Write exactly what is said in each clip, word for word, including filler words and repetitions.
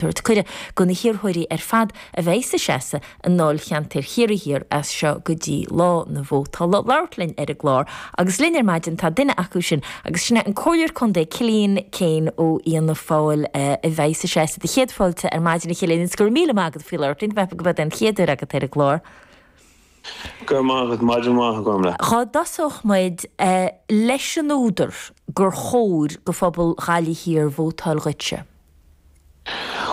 Tabhairt cuireadh do na hiarrthóirí ar fad a bheidh ag seasamh i ndáilcheantar Chiarraí Thiar as seo go dtí lá na vótála labhairt linn ar an gclár agus linn ar maidin tá duine acu sin agus sin an Comhairleoir Contae Cillian Keane ó Fhianna Fáil a bheidh ag seasamh do chéad fáilte ar maidin a Chillian is go raibh míle maith agat faoi labhairt linn go b'é an chéad uair agat ar an gclár. Gur maith maidin mhaith agam le. Cá dtosódh muid leis an údar gur chóir do phobal Ghaillimh Thiar vótáil dhuitse.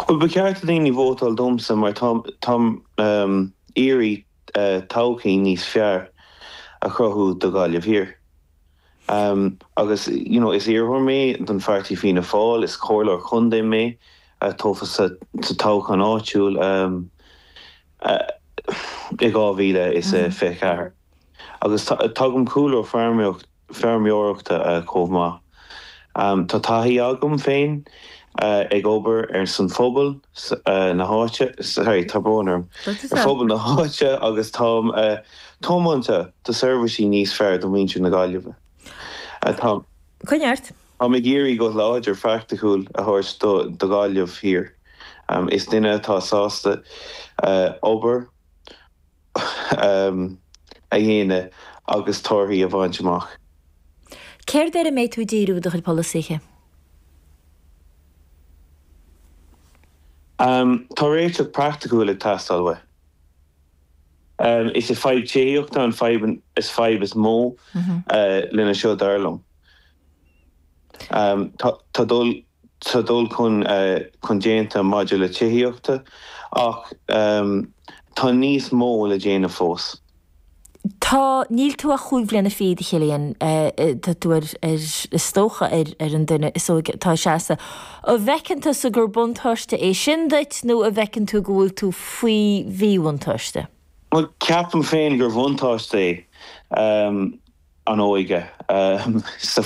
Well ba cheart daoine vótáil domsa mar tá um, iarraidh uh, todhchaí níos fearr a chruthú do Ghaillimh Thiar. Um, agus you know, is iarrthóir mé don pháirtí Fianna Fáil is comhairleoir contae mé a tofa sa, sa toghchán áitiúil um, uh, i dhá mhíle is mm -hmm. fiche ceathair. Agus tagaim cúlra feirmeoireachta uh, chomh maith. Um, tá taithí agam féin uh, ag obair ar son phobal uh, na háite sorry, tá brón orm ar phobal na háite agus tá uh, tiomanta do seirbhísí níos fearr do mhuintir na Gaillimhe. Uh, tá Coineart? Tá ag iarraidh go láidir praiticiúil a thabhairt do do Ghaillimh Thiar. Um, is duine atá sásta uh, obair um, a dhéanamh agus torthaí a bhaint amach. Céard air a mbeidh tú díriú do chuid polasaithe? Um, tá réiteach praiticiúil ag teastáil uaidh. Um, is é fadhb tithíochta an fadhb is fadhb is mó mm -hmm. uh, lena seo dar liom. Um, tá dul tá dul chun uh, chun déanta maidir le tithíochta ach um, tá níos mó le déanamh fós. Tá níl tú ach cúig bliana fichead a Chillian tá tú ar is dócha ar ar an duine is óige atá ag seasamh. An bhfeiceann tusa gur buntáiste é sin duit nó an bhfeiceann tú go bhfuil tú faoi mhíbhuntáiste? Well ceapaim féin gur bhuntáiste é um, an óige um, sa